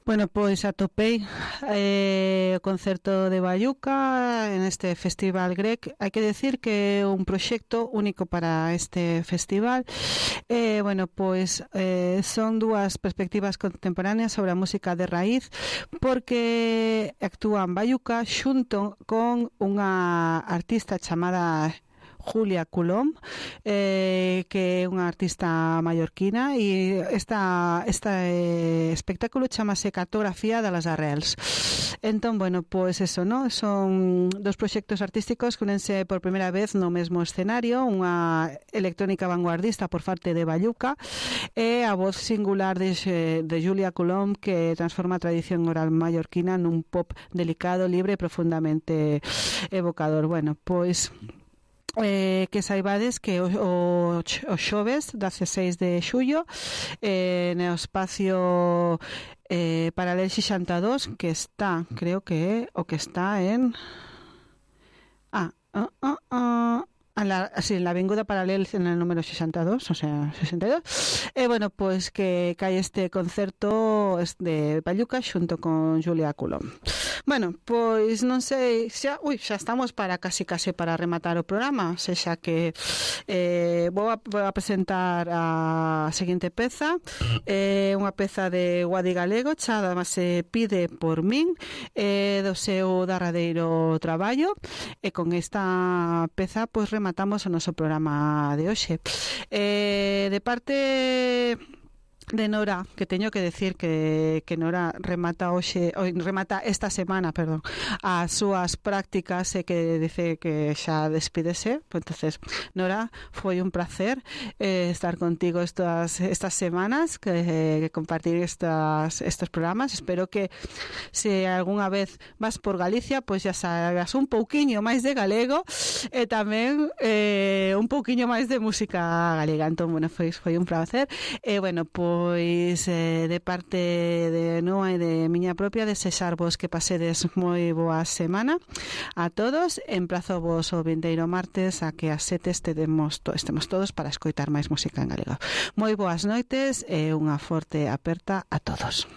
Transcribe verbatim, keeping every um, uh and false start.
Bueno, pois atopei eh, o concerto de Bayuca en este Festival Grec. Hai que decir que é un proxecto único para este festival. Eh, bueno, pois eh, son dúas perspectivas contemporáneas sobre a música de raíz, porque actúan Bayuca xunto con unha artista chamada Julia Coulomb, eh, que é unha artista mallorquina, e esta, esta eh, espectáculo chamase Cartografía das Arrels. Entón, bueno, pois eso, ¿no? Son dos proxectos artísticos que unense por primeira vez no mesmo escenario, unha electrónica vanguardista por parte de Bayuca e a voz singular de, de Julia Coulomb, que transforma a tradición oral mallorquina nun pop delicado, libre e profundamente evocador. Bueno, pois Eh, que saibades que o, o, o xoves dezasseis de xullo eh, no espacio eh, Paralel sesenta e dous, que está, creo que é o que está en ah, ah, ah, ah en la, sí, en la avinguda Paralel en el número sesenta e dous, o sea, sesenta e dous. E, bueno, pois que cae este concerto de Bayuca xunto con Julia Coulomb. Bueno, pois non sei, xa, ui, xa estamos para casi casi para rematar o programa, sexa que eh, vou, a, vou a presentar a seguinte peza, eh, unha peza de Guadi Galego, chamada se Pide por min, eh, do seu darradeiro traballo, e con esta peza pois rematamos o noso programa de hoxe. Eh, de parte de Nora, que teño que decir que, que Nora remata hoxe, remata esta semana, perdón, as súas prácticas e que dice que xa despídese. Pues entonces, Nora, foi un placer eh, estar contigo estas estas semanas, que, que compartir estas estos programas. Espero que se algunha vez vas por Galicia, pois pues xa sabes un pouquiño máis de galego e tamén eh, un pouquiño máis de música galega. Entón, bueno, foi, foi un placer. E, bueno, pois Pois eh, de parte de Noa e de miña propia, desexarvos que pasedes moi boa semana a todos. Emplazo vos o vindeiro martes a que as sete estemos, to, estemos todos para escoitar máis música en galego. Moi boas noites e unha forte aperta a todos.